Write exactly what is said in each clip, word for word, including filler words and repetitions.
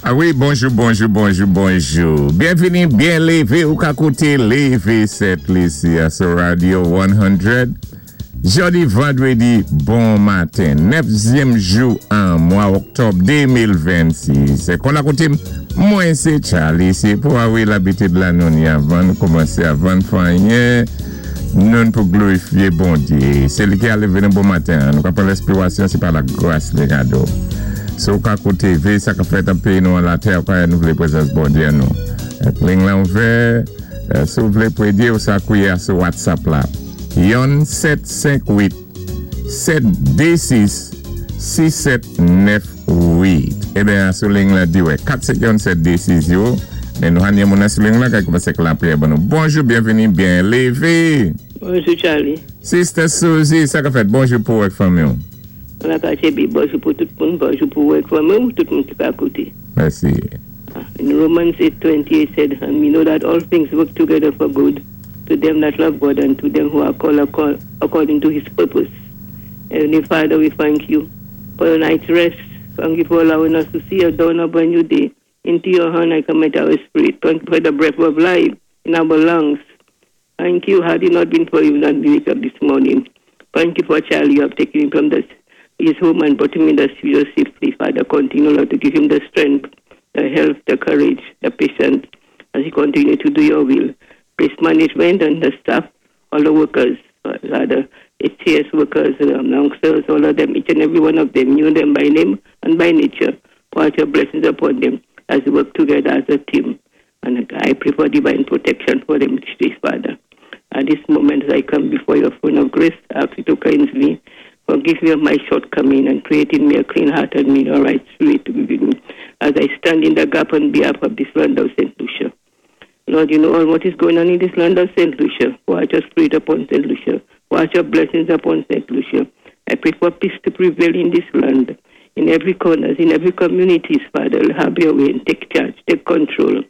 A wi, bonjou, bonjou, bonjou, bonjou. Byenvini, byen lévé ou ka kouté Lévé Sent Lisi a sou Radio san. Jòdi vandrédi, bon maten. Nèfzyèm jou an mwa òktòb de mil vennsis. Kon lakoutim, mwen sé Charlie. Sé pou a wi labitid la nou ni avan kòmansé, avan fè anyen, nou pou glorifyé Bondyé. Sé li ki a lévé nou bon maten. Nou ka pran lespirasyon, sé pa la gras li kado. So ka kouté, vé sa ka fèt an péyi nou an latè, ka nou vlé pwézans Bondyé nou. Ling la ouvè, si ou vlé pwédyé ou sa kouwé a sou WhatsApp la. Yon sèt senk uit sèt dé sis sis sèt nèf uit. Eben, sou ling la di wè, kat senk yon sèt dé sis yo. Men nou hanye moun sou ling la kay koumanse ak lapriyè ban nou. Bonjou, byenvini, byen lévé. Bonjou, Charlie. Sister Suzy, sa ka fèt? Bonjou pou wèk fanmi. La pache bi, bonjou pou tout moun, bonjou pou wèk fanmi, tout moun ki pa kouté. Mèsi. In Romans eight twenty-eight said, "And we know that all things work together for good to them that love God and to them who are called according to his purpose." Heavenly Father, we thank you for your night's rest. Thank you for allowing us to see a dawn of a new day. Into your hand I commit our spirit. Thank you for the breath of life in our lungs. Thank you. Had it not been for you, not be wake up this morning. Thank you for Charlie. You have taken him from the, his home and put him in the studio safely. Father, continue, Lord, to give him the strength, the health, the courage, the patience as he continue to do your will. Praise management and the staff, all the workers, rather, H C S workers, um, youngsters, all of them, each and every one of them, you know them by name and by nature. Pour out your blessings upon them as we work together as a team. And I pray for divine protection for them each day, Father. At this moment, as I come before your throne of grace, I ask you to cleanse me, forgive me of my shortcoming, and create in me a clean heart and me a right spirit to be with me as I stand in the gap on behalf of this land of Saint Lucia. Lord, you know all what is going on in this land of Saint Lucia. Watch your spirit upon Saint Lucia. Watch your blessings upon Saint Lucia. I pray for peace to prevail in this land, in every corner, in every community, Father. Have your way and take charge, take control.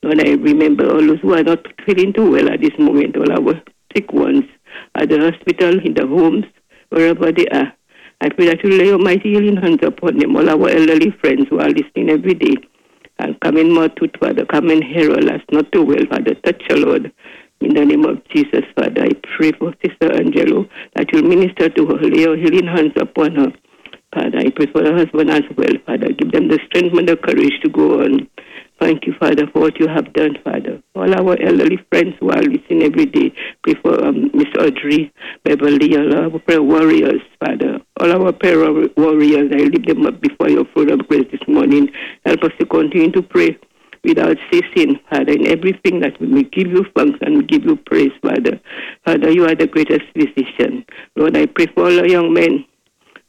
Lord, I remember all those who are not feeling too well at this moment, all our sick ones at the hospital, in the homes, wherever they are. I pray that you lay your mighty healing hands upon them, all our elderly friends who are listening every day. And come in more to Father, come and hear us not too well, Father. Touch your Lord. In the name of Jesus, Father, I pray for Sister Angelo that you'll minister to her, lay your healing hands upon her. Father, I pray for her husband as well, Father. Give them the strength and the courage to go on. Thank you, Father, for what you have done, Father. All our elderly friends who are listening every day, pray for um, Miss Audrey, Beverly, all our prayer warriors, Father. All our prayer warriors, I lift them up before your throne of grace this morning. Help us to continue to pray without ceasing, Father, in everything that we may give you thanks and give you praise, Father. Father, you are the greatest physician. Lord, I pray for all our young men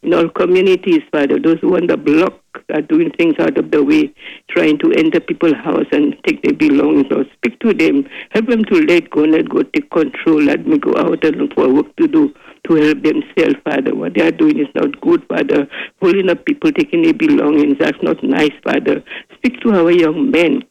in all communities, Father, those who on the block are doing things out of the way, trying to enter people's house and take their belongings. Lord, speak to them. Help them to let go, let go, take control. Let me go out and look for work to do to help themselves, Father. What they are doing is not good, Father. Pulling up people, taking their belongings, that's not nice, Father. Speak to our young men.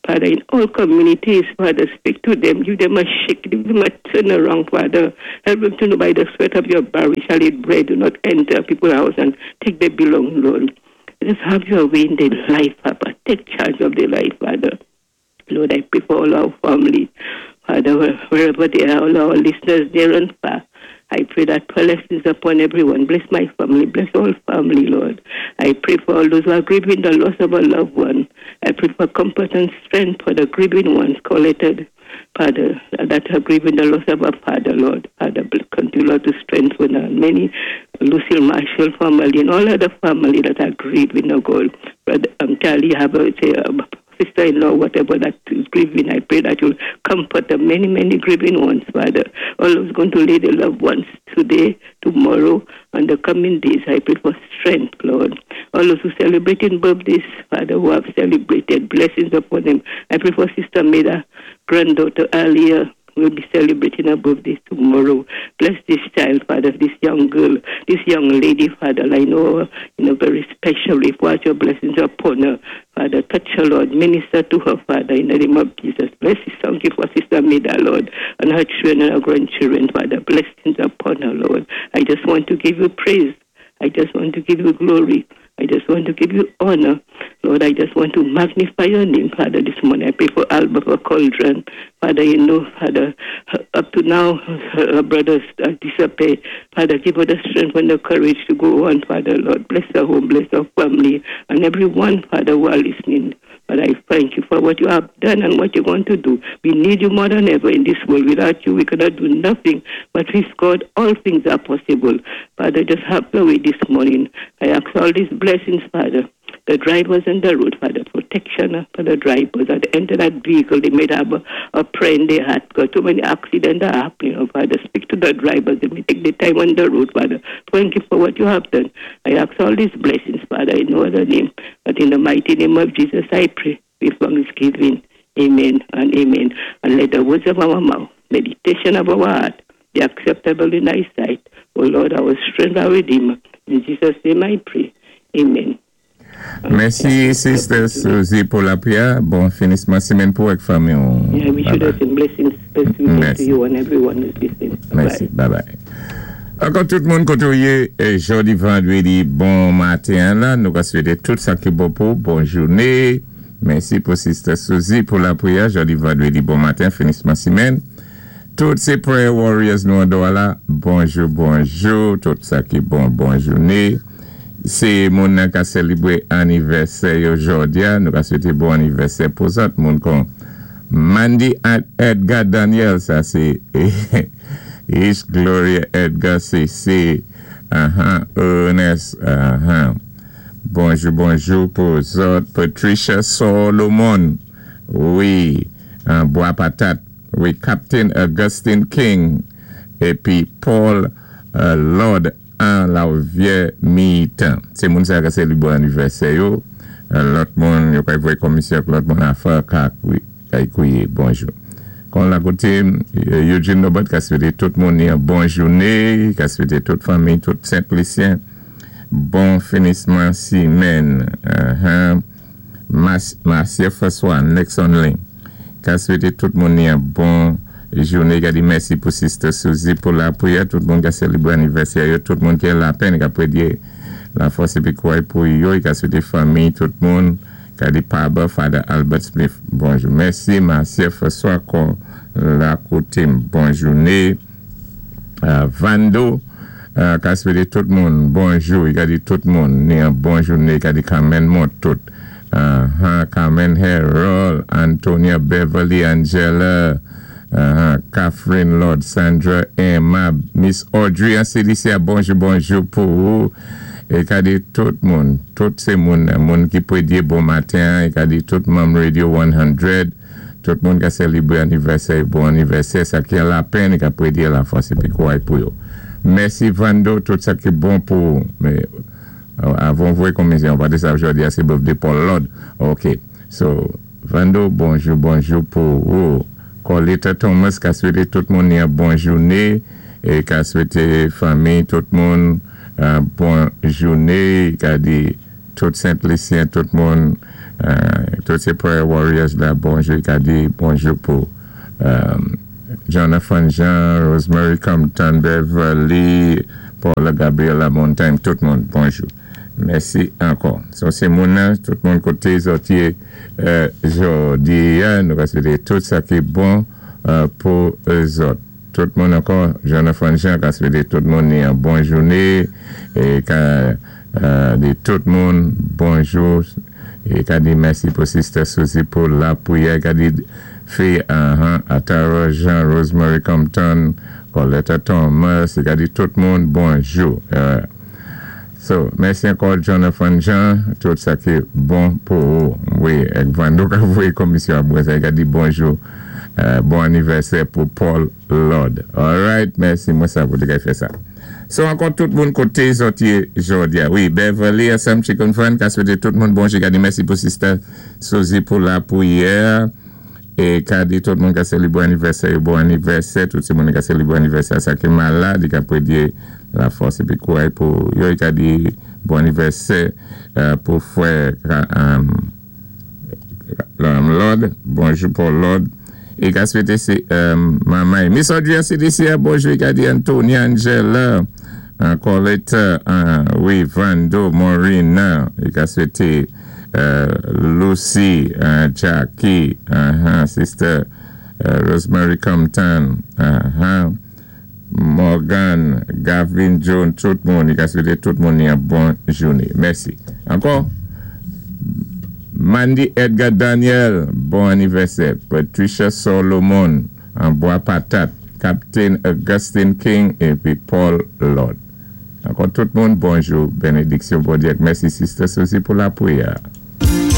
Father, in all communities, Father, speak to them, give them a shake, give them a turn around, Father. Help them to know by the sweat of your brow we shall eat bread. Do not enter people's house and take their belongings, Lord. Just have your way in their life, Papa. Take charge of their life, Father. Lord, I pray for all our family, Father, wherever they are, all our listeners near and far. I pray that blessings upon everyone. Bless my family. Bless all family, Lord. I pray for all those who are grieving the loss of a loved one. I pray for comfort and strength for the grieving ones collected, Father, that are grieving the loss of a father, Lord. Father, continue, Lord, to strengthen us. Many Lucille Marshall family and all other family that are grieving, oh God. Brother um, Charlie have a, say, um, sister-in-law, whatever that is grieving, I pray that you'll comfort the many, many grieving ones, Father. All those going to lay their loved ones today, tomorrow, and the coming days, I pray for strength, Lord. All those who celebrating birthdays, Father, who have celebrated, blessings upon them. I pray for Sister Meda, granddaughter Alia, will be celebrating her birthday tomorrow. Bless this child, Father, this young girl, this young lady, Father. I know her in a very special way. Pour out your blessings upon her. Father, touch her, Lord. Minister to her, Father, in the name of Jesus. Bless this thank you for Sister Meda, Lord, and her children and her grandchildren, Father. Blessings upon her, Lord. I just want to give you praise. I just want to give you glory. I just want to give you honor. Lord, I just want to magnify your name, Father, this morning. I pray for Albert, for Cauldron. Father, you know, Father, up to now, her, her brothers have disappeared. Father, give her the strength and the courage to go on, Father, Lord. Bless her home, bless her family, and everyone, Father, who are listening. But I thank you for what you have done and what you're going to do. We need you more than ever in this world. Without you, we cannot do nothing. But with God, all things are possible. Father, just have your way this morning. I ask all these blessings, Father. The drivers on the road, Father, protection for the drivers. At the end of that vehicle, they may have a, a prayer in their heart. Because too many accidents are happening. Oh, Father, speak to the drivers. They may take the time on the road, Father. Thank you for what you have done. I ask all these blessings, Father, in no other name. But in the mighty name of Jesus, I pray with thanksgiving. Amen and amen. And let the words of our mouth, meditation of our heart, be acceptable in thy sight. O Lord, our strength, our Redeemer. In Jesus' name I pray. Amen. Mèsi, Sister Susie, pou lapwiyè. Bon finisman sémèn pou avèk fanmi. Yeah, we should have some blessings, best wishes to you and everyone who's listening. Mèsi. Bye bye. Ankò tout moun koté ou yé, jòdi vandwédi, bon maten la, nou ka swété tout sa ki bon pou, bon jouné. Mèsi pou Sister Susie pou lapwiyè, jòdi vandwédi, bon maten, finisman sémèn. Tout sé prayer warriors nou an la, bonjou, bonjou, tout sa ki bon, bon jouné. Sé moun nan ka sélébwé anivèsè yo jòdi a, nou ka swété bon anivèsè pou zòt moun kon Mandy Edgar Daniel, sa sé Ish Gloria Edgar C C, uh-huh, Ernest, uh-huh. Bonjou, bonjou pou zòt. Patricia Solomon, wi, Bois Patat, wi, Captain Augustine King, épi Paul uh, Lord an la vyé mitan. Sé moun sa ka sélébwé anivèsè yo, lòt moun yo ka voyé komisyon lòt moun a fè ka kwiye bonjou. Kon la koté Eugene Nobert ka swété tout moun yon bon jouné, ka swété tout fanmi, tout Sent-Lisyen, bon finisman simèn. Marcia François, Nexon Link, ka swété tout moun yon bon jouné, ka di mèsi pou Sister Suzy pou lapwiyè, tout moun ka sélébwé anivèsè yo, tout moun ki la penn, ka pwédyé la fòs épi kouway pou yo, ka swété fanmi, tout moun, ka di Paba, Father Albert Smith, bonjou. Mèsi, Marcia François, kon la koté, bon jouné. Vando, ka swété tout moun, bonjou, ka di tout moun, ni an bon jouné, ka di Carmen Mont, tout. Carmen Harold, Antonia Beverly, Angela, Catherine Lord, Sandra Emma, Miss Audrey, an C D C, bonjou, bonjou pou ou. É ka di tout moun, tout sé moun, moun ki pwédyé bon maten, é ka di tout manm Radio san, tout moun ka sélébwé anivèsè, bon anivèsè, sa ki an lapenn, ka pwédyé la fòs épi kouway pou yo. Mèsi Vando, tout sa ki bon pou, mé, avan voyé komisyon, pa di sa jòdi a sé birthday Paul Lord. Ok, so, Vando, bonjou, bonjou pou ou. Colita Thomas, ka swété tout moun yon bon jouné, é ka swété fanmi, tout moun, bon jouné, ka di tout Sent-Lisyen, tout moun, tout sé prayer warriors la, bonjou, ka di bonjou pou Jonathan Jean, Rosemary Compton, Beverly, Paula Gabriela Montagne, tout moun, bonjou. Mèsi ankò. So sé moun nan, tout moun koté zòt yé jòdi a, nou ka swété tout sa ki bon pou zòt. Tout moun ankò, Jonathan Jean, ka swété tout moun ni an bon jouné, é ka di tout moun bonjou, é ka di mèsi pou Sister Suzy pou lapwiyè, ka di fi Atara Jean, Rosemary Compton, Coletta Thomas, ka di tout moun bonjou. So, mèsi ankò Jonathan Jean, tout sa ki bon pou ou. Wi, ek Vando ka voyé komisyon apwé sa, ka di bonjou, bon anivèsè pou Paul Lord. Alright, mèsi, mwen sa pou te ka fè sa. So, ankò tout moun koté zòt yé jòdi a. Wi, Beverly, Assam Chicken Fan, ka swété tout moun bonjou, ka di mèsi pou Sister Suzy pou lapwiyè, é ka di tout moun ka sélébwé anivèsè, bon anivèsè, tout sé moun ka sélébwé anivèsè, sa ki malad, ka pwédyé la fòs épi kouway pou yo, ka di bon anivèsè pou fwè Lord, bonjou Paul Lord, é ka swété sé mamay. Miss Audrey C D C, bonjou, ka di Antonia, Angela, Coletta, wi, Vando, Maureen, é ka swété euh, Lucy, uh, Jackie, uh-huh, Sister uh, Rosemary Compton, uh-huh, Morgan, Gavin John, tout moun, i ka swété tout moun yon bon jouné. Mèsi. Ankò, Mandy Edgar Daniel, bon anivèsè. Patricia Solomon, an Bwa Patat. Captain Augustine King épi Paul Lord. Ankò tout moun, bonjou, bénédiksyon Bondyé. Mèsi Sister Suzy pou la pwiyè.